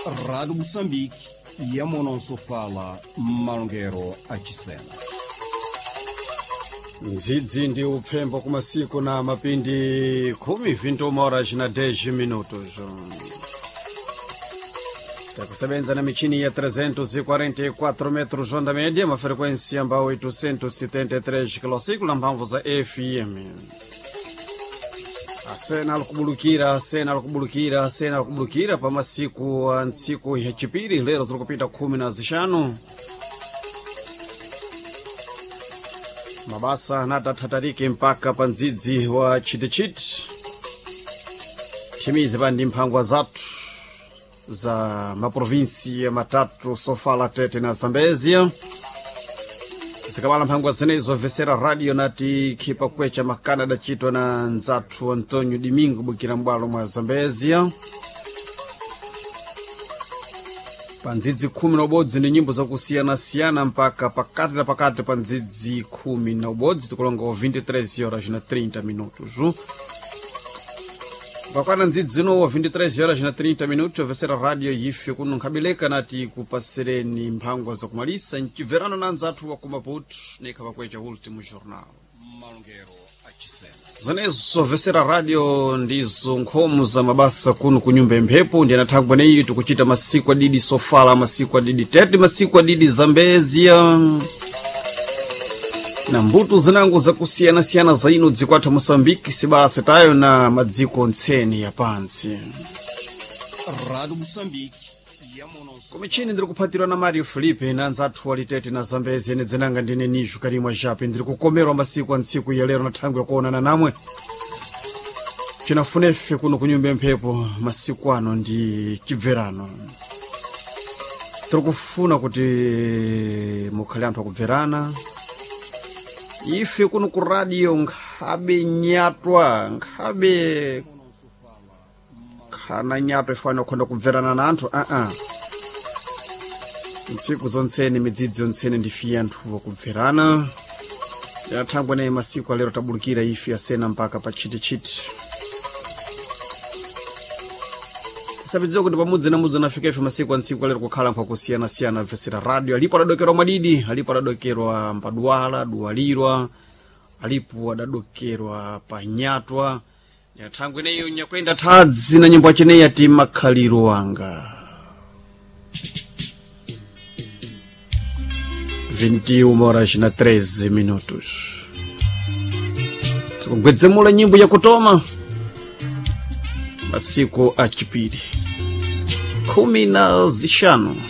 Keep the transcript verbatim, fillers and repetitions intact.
Rádio Moçambique, Yamonosofala, Malongero achisena. Ndzidzi ndi upfembo kumasiku na mapindi khumi vinte horas na dez minutos. Takusebenza na michini ya trezentos e quarenta e quatro metros onda média, uma frequência ambao oitocentos e setenta e três kilociclo na mphamvu za F M. Asena alikubulukira, asena alikubulukira, asena alikubulukira pa masiku a ntsiku ya chipiri, lero zirikupita khumi na zixanu. Mabasa anatathatarike mpaka pa ndzidzi wa chitichiti thimize pa ndi mphangwa zathu za maprovinsia matatu, Sofala, Tete na Zambezia. Zikabala mphangwa zenezo vesera radio nati khipa kwecha makana adacitwa na nzathu Antonio Domingo bukira mbwalo mwa Zambezia. Pa ndzidzi khumi na ubodzi ndi nyimbo zakusiyanasiyana mpaka pakati na pakati pa ndzidzi khumi na ubodzi, tikulonga vinte e três horas na trinta minutos. Pakwana ndzidzi zino vinte e três horas na trinta minutos, ovesera radio ife kuno nkhabeleka nati kupasereni mphangwa zakumalisa mcibverano na anzathu wa ku Maputo nekha pakwecha Último Jornal. Malongero achisena. Zenezo vesera radio ndizo nkhomo za mabasa kuno ku nyumba imphepo ndi anathangwa neyi tikuchita masiku adidi Sofala, masiku adidi Tete, masiku adidi Zambezia na mbuto zinango zakusiyanasiyana za ino dziko athu Moçambique, sibasa tayo na madziko ntseni ya pantsi. Rádio Moçambique, Yamonosofala. Kumichini ndiri kuphatirwa na Mario Felipe na anzathu walitete na Zambezi, ene dzinanga ndine Nijo Karimwa Jape. Ndiri kukomerwa masiku a ntsiku ya lero na thangwi yakuonana namwe. Cinafunefe kuno kunyumba mphepo masiku ano ndi chibverano. Tiri kufuna kuti mukhale anthu akubverana. Ife kuno ku radio nkhabe nyatwa, nkhabe khana nyatwa ifana kukhonda kubverana na anthu aa ntsiku zontseni, midzidzi yontseni, ndifiye anthu wakubverana. Yathangwa naye masiku alero tabulukira ife asena mpaka pa chitichiti. Tisapidziwa kuti pamudzi na mudzi anafika ife masiku a ntsiku alero kukhala nkho akusiyana-siyana vesera radio. Alipo adadokerwa mwadidi, alipo adadokerwa mpadwala duwalirwa, alipo adadokerwa panyatwa. Yathangwe neyo nyakwenda thadzi na nyimbo acheneyi ati Makhaliro Wanga. vinte e uma horas na treze minutos. Tikugwedzemula nyimbo yakutoma masiku achipiri khumi na zixanu.